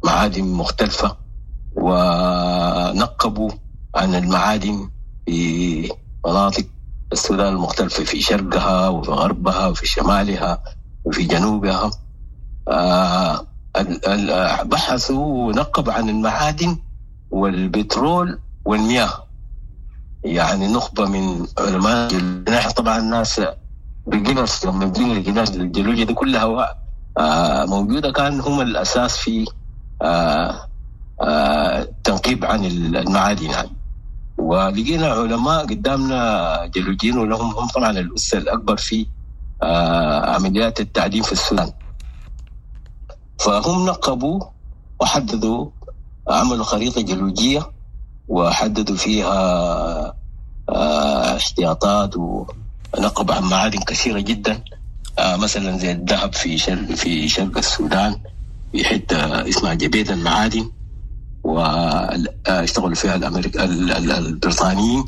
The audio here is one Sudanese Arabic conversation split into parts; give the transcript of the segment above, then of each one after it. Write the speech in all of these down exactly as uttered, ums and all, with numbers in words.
معادن مختلفة، ونقبوا عن المعادن في مناطق السودان المختلفة، في شرقها وفي غربها وفي شمالها وفي جنوبها. آه، بحثوا ونقبوا عن المعادن والبترول والمياه. يعني نخبة من علماء نحن طبعا الناس بقينا لما جينا الجيولوجيا دي كلها موجودة، كان هم الأساس في التنقيب عن المعادن يعني. ولقينا علماء قدامنا جيولوجيين، ولهم هم طبعا الأس الأكبر في عمليات التعدين في السودان. فهم نقبوا وحددوا، عملوا خريطة جيولوجية وحددوا فيها احتياطات، ونقبوا عن معادن كثيرة جدا، مثلا زي الذهب في شرق في شرق السودان في حتة اسمها جبيت المعادن، واشتغلوا فيها الأمريك البريطانيين.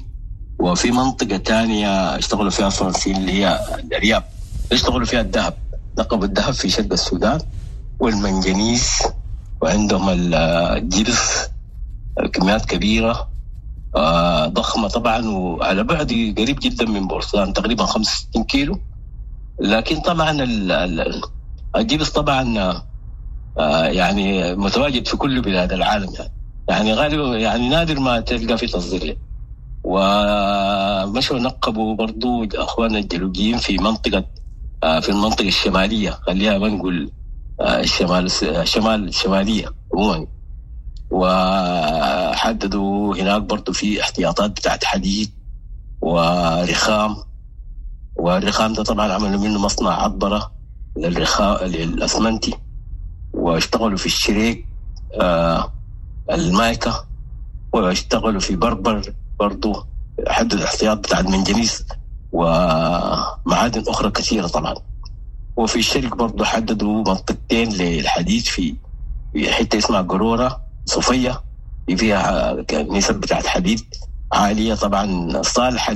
وفي منطقة ثانية اشتغلوا فيها الفرنسيين اللي هي الأرياب، اشتغلوا فيها الذهب، نقبوا الذهب في شرق السودان والمنجنيز، وعندهم الجبس كميات كبيرة ضخمة طبعا، وعلى بعد قريب جدا من بورسودان تقريبا خمسة وستين كيلو. لكن طبعا الجبس طبعا يعني متواجد في كل بلاد العالم، يعني يعني غالبا يعني نادر ما تلقى في تصدير. ومشوا نقبوا برضو اخواننا الجيولوجيين في منطقة في المنطقة الشمالية، خليها ما نقول الشمال الشمال الشمالية عموما، وحددوا هناك برضو في احتياطات بتاعت حديد ورخام. والرخام ده طبعا عملوا منه مصنع عطبرة للرخام للأسمنتي، واشتغلوا في الشريك آه المايكا، واشتغلوا في بربر برضو، حددوا الاحتياط بتاع المنجنيز ومعادن أخرى كثيرة طبعا. وفي الشرق برضو حددوا منطقتين للحديد في حتة اسمها قرورة صوفية، فيها نسب بتاعت حديد عالية طبعا صالحة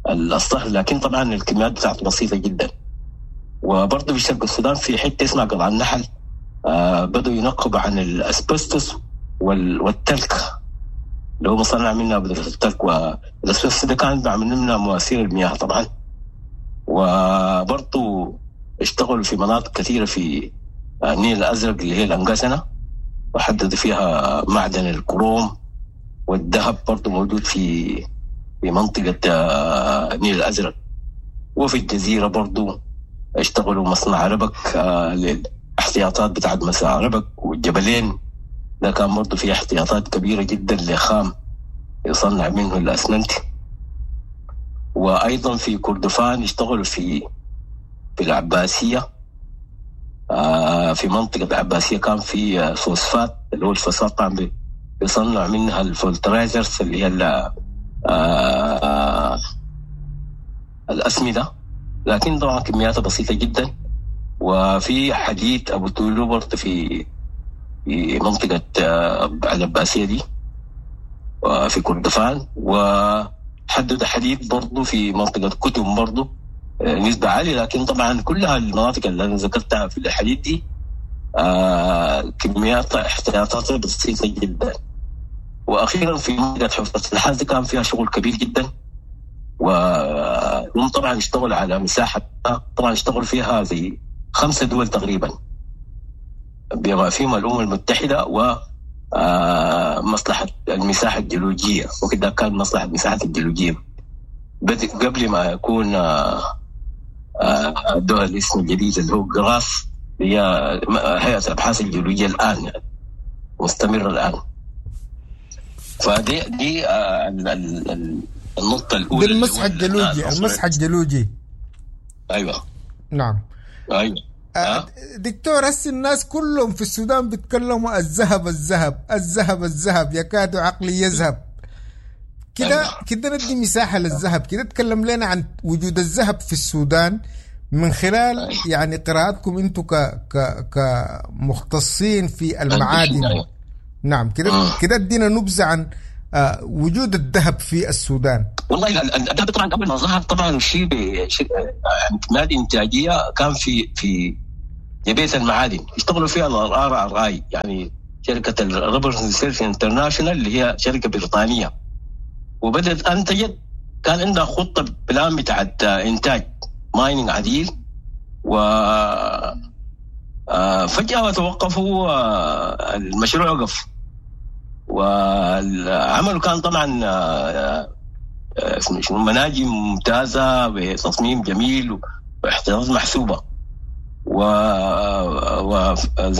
للصهر، لكن طبعا الكميات بتاعت بسيطة جدا. وبرضو في شرق السودان في حتة اسمها قلعة النحل، آه بدوا ينقبوا عن الأسبستوس والتلك اللي هو مصنع منها بدرة التلك، والأسبستوس ده كان بعمل منها مواسير المياه طبعا. وبرضو اشتغلوا في مناطق كثيرة في النيل الأزرق اللي هي الأنقسنة، وحددوا فيها معدن الكروم والذهب برضو موجود في في منطقة النيل الأزرق. وفي الجزيرة برضو اشتغلوا مصنع ربك للاحتياطات بتاعت مصنع ربك، والجبلين ده كان برضو فيه احتياطات كبيرة جدا لخام يصنع منه الأسمنت. وأيضا في كردفان اشتغلوا في في العباسية، آه في منطقة العباسية كان في فوسفات، اللي هو الفوسفات طبعا بيصنع منها ال fertilizers اللي هي آه الأسمدة، لكن طبعا كمياتها بسيطة جدا. وفي حديد أبو تولو برضه في في منطقة آه العباسية دي وفي كردفان. وحدد حديد برضه في منطقة كتم برضه نسبة عالية، لكن طبعا كلها المناطق اللي أنا ذكرتها في الحديد دي آه كميات احتياطات بسيطة جدا. وأخيرا في منطقة حفرة النحاس دي كان فيها شغل كبير جدا، وهم طبعا اشتغلوا على مساحة، طبعا اشتغلوا فيها زي خمسة دول تقريبا بما فيهم الأمم المتحدة ومصلحة المساحة الجيولوجية، وكده كان مصلحة المساحة الجيولوجية قبل ما يكون الدول الاسم الجديد اللي هو جراس، هي هيئة الأبحاث الجيولوجية الآن يعني مستمرة الآن. فدي دي النقطة الأولى، دي المسح الجيولوجي، المسح الجيولوجي. أيوة نعم أيوة. أه؟ دكتور، هسه الناس كلهم في السودان بيتكلموا الذهب الذهب الذهب الذهب، يكاد عقلي يذهب كده. أيوة. كده ندي مساحة للذهب، كده تكلم لنا عن وجود الذهب في السودان من خلال أيوة. يعني قراءتكم انتم ك ك كمختصين في المعادن. أيوة. نعم كده كده ادينا نبذة عن وجود الذهب في السودان. والله الذهب طبعا قبل ما ظهر طبعا شيء كميات انتاجية كان في في جبهة المعادن اشتغلوا فيها ال RRI، يعني شركة ال Robertson Research International اللي هي شركة بريطانية، وبدأت أنتجت. كان عندها خطة plan بتاعت إنتاج mining عديل، و فجأة توقفوا، المشروع وقف. والعمل كان طبعا مناجم ممتازة بتصميم جميل واحتياطات محسوبة، وزي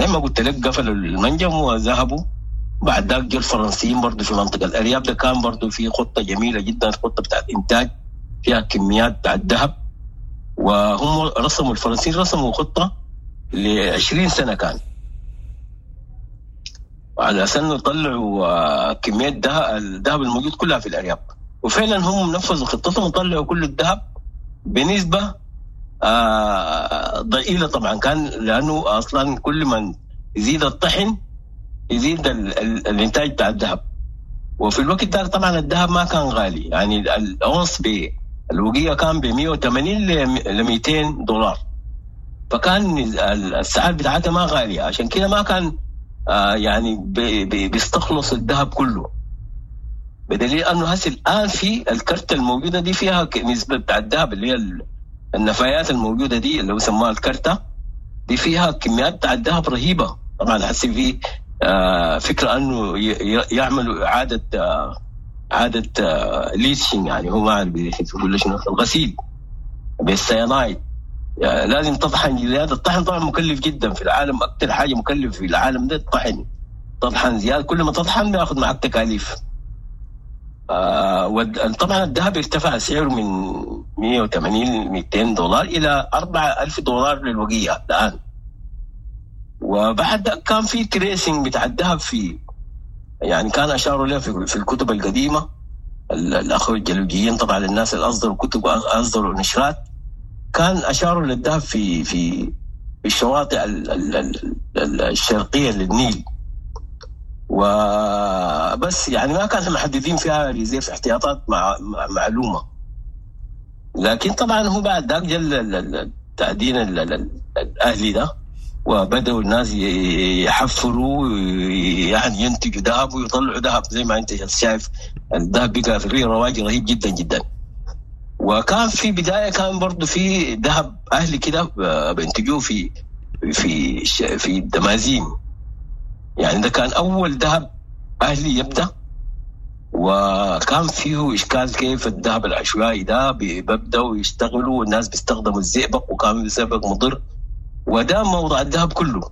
ما قلت لك قفلوا المنجم وذهبوا. بعد ذاك جو الفرنسيين برضو في منطقة الأرياب، ده كان برضو في خطة جميلة جدا، خطة بتاعت إنتاج فيها كميات بتاعت ذهب، وهم رسموا الفرنسيين رسموا خطة لعشرين سنة كان على أساس إنه يطلعوا كمية الذهب الموجود كلها في الأرياب، وفعلا هم نفذوا خطتهم وطلعوا كل الذهب بنسبة آه ضئيلة طبعا، كان لأنه أصلا كل من يزيد الطحن يزيد ال ال الإنتاج بتاع الذهب. وفي الوقت ده طبعا الذهب ما كان غالي، يعني الأونص بالوقية كان ب مئة وثمانين ل مئتين دولار، فكان السعر بتاعتها ما غالية، عشان كده ما كان آه يعني بي بي بيستخلص الذهب كله. بدليل أنه هسه الآن في الكرتة الموجودة دي فيها نسبة بتاع الذهب اللي هي النفايات الموجودة دي اللي هو سموها الكرتة دي فيها كميات بتاع الذهب رهيبة. طبعا هسه في آه فكرة أنه يعملوا إعادة آه إعادة آه leaching، يعني هو ما أعرف يقول شنو، الغسيل بالسيانايد. يعني لازم تطحن زيادة. الطحن طبعا مكلف جدا في العالم، أكثر حاجة مكلف في العالم ده الطحن. تطحن زيادة، كل ما تطحن بياخذ معك تكاليف. آه وطبعا الذهب ارتفع سعره من مئة وثمانين مئتين دولار إلى أربعة ألف دولار للوقية الآن. وبعد كان في tracing بتاع الذهب في، يعني كان أشاروا له في, في الكتب القديمة، الأخوة الجيولوجيين طبعا الناس اللي أصدروا كتب وأصدروا نشرات كان أشاروا للذهب في في الشواطئ الشرقية للنيل، وبس يعني ما كانوا محددين فيها reserve احتياطات مع معلومة. لكن طبعا هو بعد ذاك جل التعدين الأهلي ده، وبدأوا الناس يحفروا يعني ينتجوا ذهب ويطلعوا ذهب زي ما انت شايف الذهب بقى في رواج رهيب جدا جدا. وكان في بداية كان برضو في ذهب أهلي كده بينتجوه في في في الدمازين، يعني ده كان أول ذهب أهلي يبدأ، وكان فيه إشكال كيف الذهب العشوائي ده بيبدأوا يشتغلوا والناس بيستخدموا الزئبق، وكان الزئبق مضر، وده موضوع الذهب كله.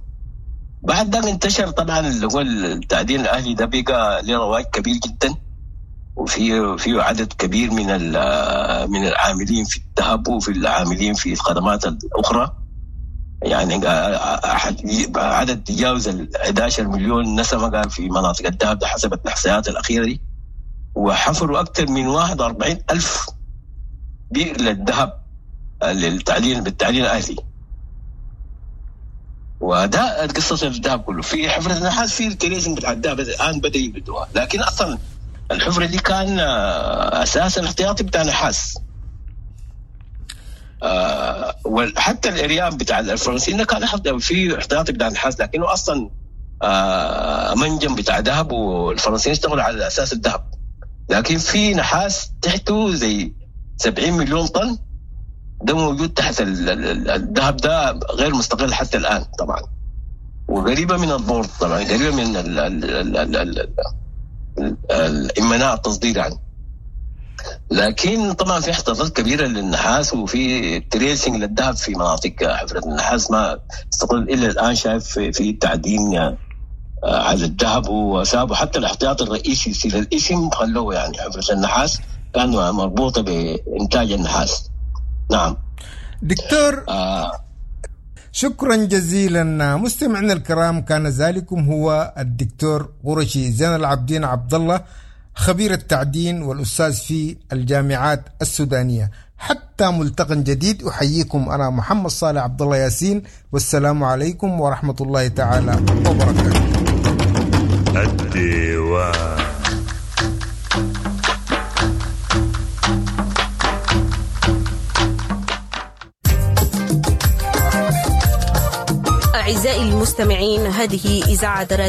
بعد ده انتشر طبعا اللي هو التعدين الأهلي ده بقى له رواج كبير جدا، وفي في عدد كبير من من العاملين في الذهب وفي العاملين في الخدمات الأخرى، يعني عدد تجاوز ال أحد عشر مليون نسمة قال في مناطق الذهب ده حسب الإحصائيات الأخيرة دي، وحفروا أكثر من واحد وأربعين ألف بئر للذهب للتعدين بالتعدين الأهلي. وده قصة الذهب كله. في حفرة النحاس في ال tracing بتاع الذهب الآن بدأ يبدوها، لكن أصلا الحفرة دي كان أساسا احتياطي بتاع نحاس. آه وحتى الارياب بتاع الفرنسيين كان في احتياطي بتاع نحاس، لكنه اصلا آه منجم بتاع ذهب، والفرنسيين اشتغلوا على اساس الذهب، لكن في نحاس تحته زي سبعين مليون طن ده موجود تحت الذهب، ده غير مستقل حتى الان طبعا، وقريبه من البورد طبعا، قريبه من ال ال ال ال ال الامناء التصدير يعني. لكن طبعا في احتياطات كبيره للنحاس، وفي tracing للذهب في مناطق حفره النحاس ما استقل الا الان، شايف في تعدين على الذهب، وسابوا حتى الاحتياط الرئيسي للاسم خلوه، يعني حفره النحاس كان مربوطه بانتاج النحاس. نعم دكتور، آه شكرا جزيلا. مستمعينا الكرام، كان ذلكم هو الدكتور قرشي زين العابدين عبد الله، خبير التعدين والأستاذ في الجامعات السودانية. حتى ملتقى جديد، أحييكم أنا محمد صالح عبد الله ياسين، والسلام عليكم ورحمة الله تعالى وبركاته. الديوان. أعزائي المستمعين، هذه إذاعة